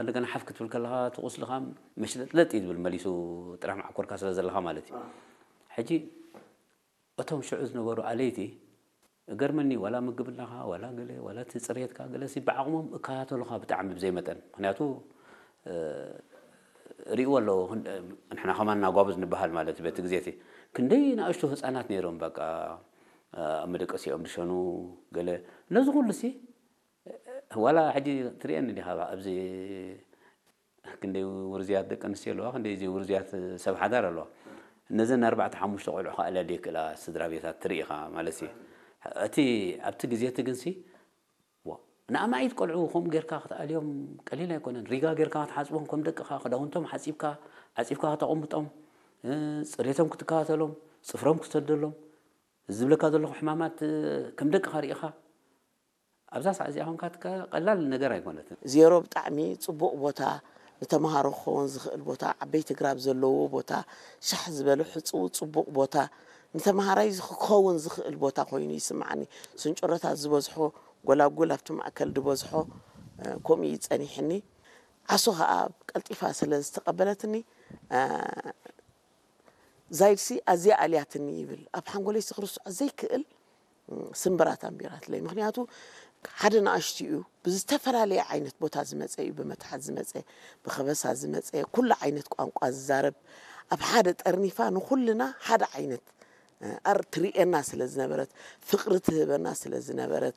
እንደገና ሓፍ ክትብል ከለኻ እቲ ቁስልኻ መሽለጥለጥ እዩ ዝብል፣ መሊሱ ጥራሕ መዓኮርካ ስለ ዘለኻ ማለት እዩ። ሕጂ እቶም ሽዑ ዝነበሩ ኣለይቲ እገርመኒ፣ ዋላ ምግብናኻ ዋላ ገለ ዋላ እቲ ፅሬትካ ገለ ሲ ብዓቕሞም እከታተሉኻ ብጣዕሚ ብዘይ መጠን። ምክንያቱ እ፣ ርእይዎ ኣለዎ። ክንድ- ንሕና ከማን ናጓብዝ ንበሃል ማለት እዩ። በቲ ግዜ እቲ ክንደይ ንኣሽቱ ህፃናት ነይሮም፣ በቃ ኣብ መደቀሲኦም ድሸኑ ገለ፣ ነዚ ኩሉ ሲ ዋላ ሕጂ ትርእየኒ ዲኻ? ኣብዚ ክንደይ ውርዝያት ደቂ ኣንስትዮ ኣለዋ፣ ክንደይ እዚ ውርዝያት ሰብ ሓዳር ኣለዋ። ነዘን ኣርባዕተ ሓሙሽተ ቆልዑ ከኣ ለደ ክእላ ስድራ ቤታት ትርኢ ኢኻ ማለት እዩ። እቲ ኣብቲ ግዜ እቲ ግንሲ ዋ፣ ንኣማኢት ቆልዑ ከምኡ ጌርካ ክትኣልዮም ቀሊል ኣይኮነን። ሪጋ ጌርካ ክትሓጽቦም፣ ከም ደቅኻ ክዳውንቶም ሓጺብካ፣ ዓጺብካ ከተቐምጦም፣ እ፣ ጽሬቶም ክትከታተሎም፣ ጽፍሮም ክትሰደሎም፣ ዝብለካ ዘለኹ ሕማማት፣ እ፣ ከም ደቅኻ ርኢኻ ኣብዛ ሰዓት እዚኣ ኮንካ ትካ-፣ ቀላል ነገር ኣይኮነትን። ዜሮ ብጣዕሚ ጽቡቕ ቦታ፣ ንተምሃሮ ክኸውን ዝኽእል ቦታ፣ ዓበይቲ ግራብ ዘለዎ ቦታ፣ ሻሕ ዝበለ ሕጹው ጽቡቕ ቦታ፣ ንተምሃራይ ዝኽ-፣ ክኸውን ዝኽእል ቦታ ኮይኑ ይስምዓኒ። ስንጭሮታት ዝበዝሖ፣ ጎላጉል ኣብቲ ማእከል ዝበዝሖ፣ እ፣ ከምኡ እዩ ጸኒሕኒ። ዓሶ ኸኣ ቀልጢፋ ስለ ዝተቐበለትኒ፣ እ፣ ዛይድሲ ኣዝያ ኣልያትኒ ይብል። ኣብ ሓንጎለይሲ ክርስዖ ዘይክእል ስምብራት ኣንቢራትለይ። ምኽንያቱ ሓደ ንኣሽቱ እዩ፣ ብዝተፈላለየ ዓይነት ቦታ ዝመጸ እዩ፣ ብመትሓት ዝመጸ፣ ብኸበሳ ዝመጸ፣ ኩሉ ዓይነት ቋንቋ ዝዛረብ፣ ኣብ ሓደ ጠርኒፋ ንኹልና ሓደ ዓይነት፣ እ፣ ኣር ትርእየና ስለ ዝነበረት፣ ፍቕሪ ትህበና ስለ ዝነበረት፣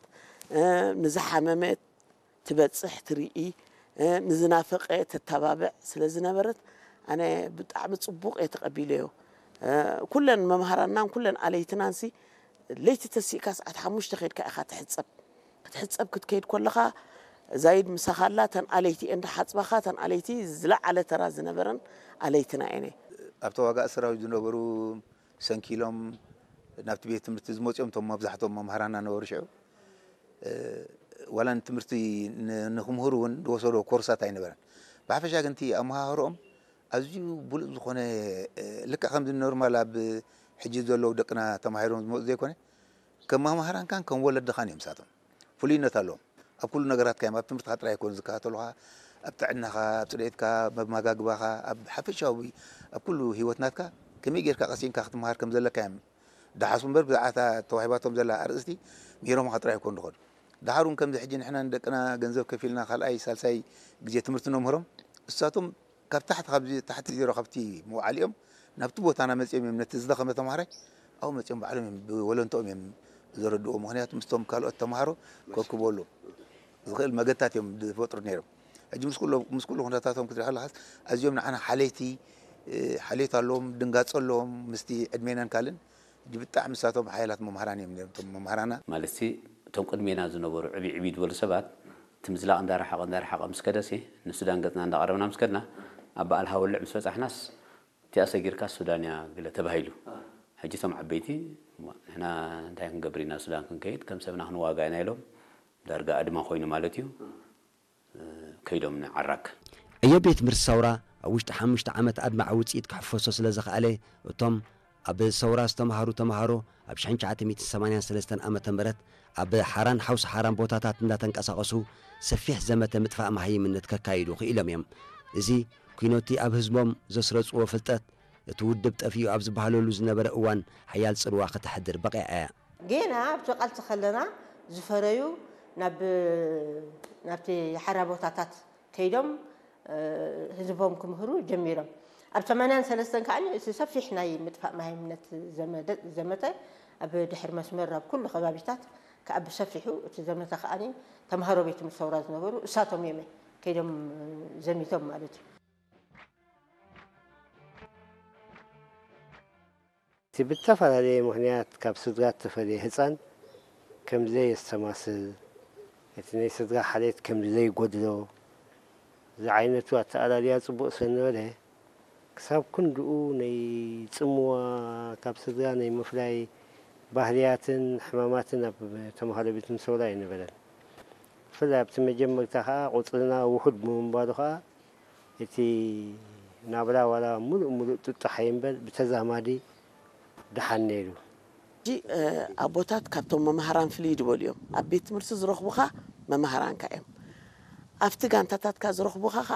እ፣ ንዝሓመመ ትበጽሕ ትርኢ፣ እ፣ ንዝናፈቐ ተተባብዕ ስለ ዝነበረት፣ ኣነ ብጣዕሚ ጽቡቕ እየ ተቐቢለዮ። እ፣ ኩለን መምሃራንናን ኩለን ኣለይትናንሲ ለይቲ ተሲእካ ሰዓት ሓሙሽተ ኬድካ ኢኻ ትሕጸብ። ክትሕጸብ ክትከይድ ከለኻ ዛይድ ምሳኻ ኣላ፣ እተን ኣለይቲ እየን ድሓጽባኻ፣ እተን ኣለይቲ ዝለዓለ ተራ ዝነበረን ኣለይትና እየን። ኣብ ተዋጋእ ሰራዊት ዝነበሩ ሰንኪሎም ናብቲ ቤት ትምህርቲ ዝመጽኦም እቶም መብዛሕትኦም መምሃራና ነበሩ ሽዑ። እ፣ ዋላ ንትምህርቲ ን-፣ ንክምህሩ እውን ዝወሰዶ ኮርሳት ኣይነበረን። ብሓፈሻ ግን እቲ ኣመሃህርኦም ኣዝዩ ብሉጽ ዝኾነ፣ እ፣ ልክዕ ከምዚ ኖርማል ኣብ ሕጂ ዘለዉ ደቅና ተማሂሮም ዝመጹ ዘይኮነ፣ ከም መምሃራንካን ከም ወለድኻን እዮም ንሳቶም። ፍሉይነት ኣለዎም። ኣብ ኩሉ ነገራትካ እዮም። ኣብ ትምህርትኻ ጥራይ ኣይኮኑን ዝከታተሉኻ፣ ኣብ ጥዕናኻ፣ ኣብ ጽሬትካ፣ ኣብ መመጋግባኻ፣ ኣብ ሓፈሻዊ፣ ኣብ ኩሉ ህይወት ናትካ ከመይ ጌርካ ቀሲንካ ክትመሃር ከም ዘለካ እዮም ደሓሱ እምበር፣ ብዛዕባ እታ ተዋሂባቶም ዘላ ኣርእስቲ ምሂሮምኻ ጥራይ ኣይኮኑን ዝኸዱ። ደሓር እውን ከምዚ ሕጂ ንሕና ንደቅና ገንዘብ ከፊልና ካልኣይ ሳልሳይ ግዜ ትምህርቲ ነምህሮም፣ እሳቶም ካብ ታሕቲ፣ ካብዚ ታሕቲ ዜሮ፣ ካብቲ መውዓሊኦም ናብቲ ቦታና መጺኦም እዮም ነቲ ዝደኸመ ተምሃራይ ኣብኡ መጺኦም ባዕሎም እዮም ብወለንትኦም እዮም ዘረድእዎ። ምኽንያቱ ምስቶም ካልኦት ተምሃሮ ከክበሉ ዝኽእል መገድታት እዮም ዝፈጥሩ ነይሮም። ሕጂ ምስ ኩሎ-፣ ምስ ኩሉ ኩነታቶም ክትሪኢ ከለኻስ ኣዝዮም ንዓና ሓለይቲ፣ እ፣ ሓልዮት ኣለዎም፣ ድንጋጸ ኣለዎም ምስቲ ዕድሜናን ካልእን። ሕጂ ብጣዕሚ ንሳቶም ሓያላት መምሃራን እዮም ነይሮም፣ እቶም መምሃራና። ማለትሲ እቶም ቅድሜና ዝነበሩ ዕብይ ዕብይ ዝበሉ ሰባት እቲ ምዝላቕ እንዳረሓቐ እንዳረሓቐ ምስ ከደሲ ንሱዳን ገጽና እንዳቐረብና ምስ ከድና ኣብ በዓል ሃወልዕ ምስ በጻሕናስ እቲኣ ሰጊርካ ሱዳን እያ ገለ ተባሂሉ። ሕጂ እቶም ዓበይቲ እሞ ንሕና እንታይ ክንገብር ኢና ሱዳን ክንከይድ ከም ሰብና ክንዋጋ ኢና ኢሎም ዳርጋ ኣድማ ኮይኑ ማለት እዩ። ከይዶም ንዓራግ። ዕዮ ቤት ትምህርቲ ሰውራ ኣብ ውሽጢ ሓሙሽተ ዓመት ኣድማዒ ውጽኢት ክሕፈሶ ስለ ዝኸኣለ፣ እቶም ኣብ ሰውራ ዝተምሃሩ ተምሃሮ ኣብ ሽሕን ትሽዓተ ሚእትን ሰማንያን ሰለስተን ዓመተ ምህረት ኣብ ሓራን ሓውሲ ሓራን ቦታታት እንዳተንቀሳቐሱ ሰፊሕ ዘመተ ምጥፋእ መሃይምነት ከካይዱ ክኢሎም እዮም። እዚ ኲኖቲ ኣብ ህዝቦም ዘስረጽዎ ፍልጠት፣ እቲ ውድብ ጠፊኡ ኣብ ዝበሃለሉ ዝነበረ እዋን ሓያል ጽልዋ ከተሕድር በቒዓ እያ። ጌና ኣብቲ ቃልሲ ከለና ዝፈረዩ ናብ፣ ናብቲ ሓራ ቦታታት ከይዶም፣ እ፣ ህዝቦም ክምህሩ ጀሚሮም። ኣብ ሰማንያን ሰለስተን ከኣ እቲ ሰፊሕ ናይ ምጥፋእ መሃይምነት ዘመደ-፣ ዘመተ ኣብ ድሕሪ መስመር ኣብ ኩሉ ከባቢታት ከኣ ብሰፊሑ እቲ ዘመተ ከኣ ተምሃሮ ቤት ትምህርቲ ሰውራ ዝነበሩ እሳቶም እዮም ከይዶም ዘሚቶም ማለት እዩ። እቲ ብዝተፈላለየ ምኽንያት ካብ ስድራ እተፈልየ ህጻን ከም ዘየስተማስል፣ እቲ ናይ ስድራ ሓልዮት ከም ዘይጎድሎ ዝዓይነቱ ኣተኣላልያ ጽቡቕ ስለ ዝነበረ፣ ክሳብ ክንድኡ ናይ ጽምዋ፣ ካብ ስድራ ናይ ምፍላይ ባህርያትን ሕማማትን ኣብ ተምሃሮ ቤት ትምህርቲ ሰውራ ኣይነበረን። ብፍላይ ኣብቲ መጀመርታ ከኣ ቁጽርና ውሑድ ብምንባሩ ከኣ፣ እቲ ናብራ ዋላ ምሉእ ምሉእ ጥጡሕ ኣይንበር፣ ብተዛማዲ ደሓን ነይሩ። ሕጂ፣ እ፣ ኣቦታት ካብቶም መምሃራን ፍልይ ዝበሉ እዮም። ኣብ ቤት ትምህርቲ ዝረኽቡኻ መምሃራንካ እዮም። ኣብቲ ጋንታታትካ ዝረኽቡኻ ከዓ